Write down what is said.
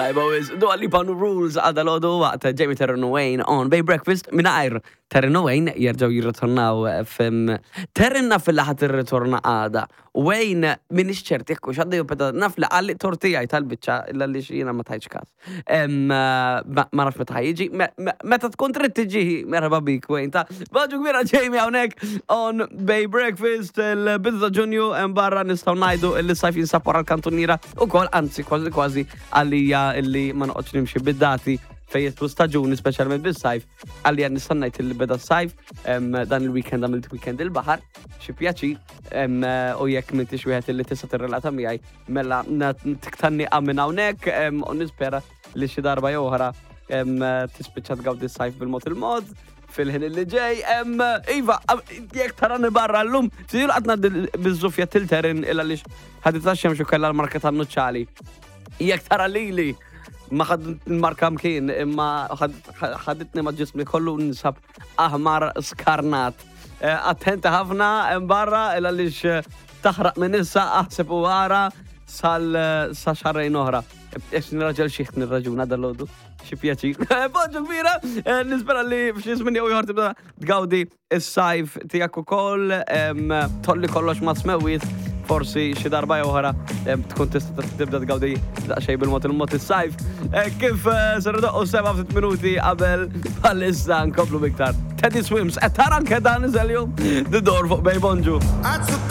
Tajba wis, Dua Lipa New Rules għal dalodu waqt Jamie Terren u Wayne on Bay Breakfast mingħajr Terren u Wayne jerġgħu jirritornaw fim Terren naf li ħadd irritorna għada. Wayne minix ċert jekk hux għaddej u naf li qalli tortijaj tal-biċċa illa li jiena ma tajtx każ. Ma nafx meta ħajġi, meta tkun trid tiġi, merħba bik Wayne ta' Baġu kbira Jamie hawnhekk on Bay Breakfast il-bidu ta' Ġunju hemm barra nistgħu ngħidu li sajf jinsab wara l-kantuniera ukoll anzi kważi kważi għalija illi ma noqgħodx nimxi bid-dati fejn jidħlu staġuni speċjalment bis-sajf għalija nista' ngħid li beda s-sajf dan il-weekend għamilt weekend il-baħar xi pjaċir u jekk m'intix wieħed illi tista' tirrelata miegħi Mela, tiktanni minn hawnhekk u nispera li xi darba jew oħra tispiċċa tgawdi s-sajf bil-mod il-mod fil-ħin li ġej. Iva, jekk tarani barra llum, siru qatt ngħaddi biż-żufja tilterin illa li ħadit xemx u kellha l-marka tan-nuċċali. Jekk tara lili ma ħad marka mkien imma ħaditni ma ġismi kollu nsab aħmar skarnat. Eh, attenti ħafna hemm barra il għaliex eh, taħraq minn issa aħseb u għara sal eh, sa xarrejn oħra. Ex nirraġel xieħt nirraġuna dal-lodu. Xi pjaċir. Bonġu kbira, nispera li f'xi żmien jew ieħor tibda tgawdi is-sajf tiegħek ukoll, tolli kollox ma' smewwiet forsi xi darba jew oħra tkun tista' tibda tgawdi daqsxejn bil-mod il-mod is-sajf. Eh, kif eh, ser doqqu seba' ftit minuti qabel bħalissa nkomplu biktar. Teddy Swims, qed tara anke dan iżel-jum The Door fuq Bay Bonġu.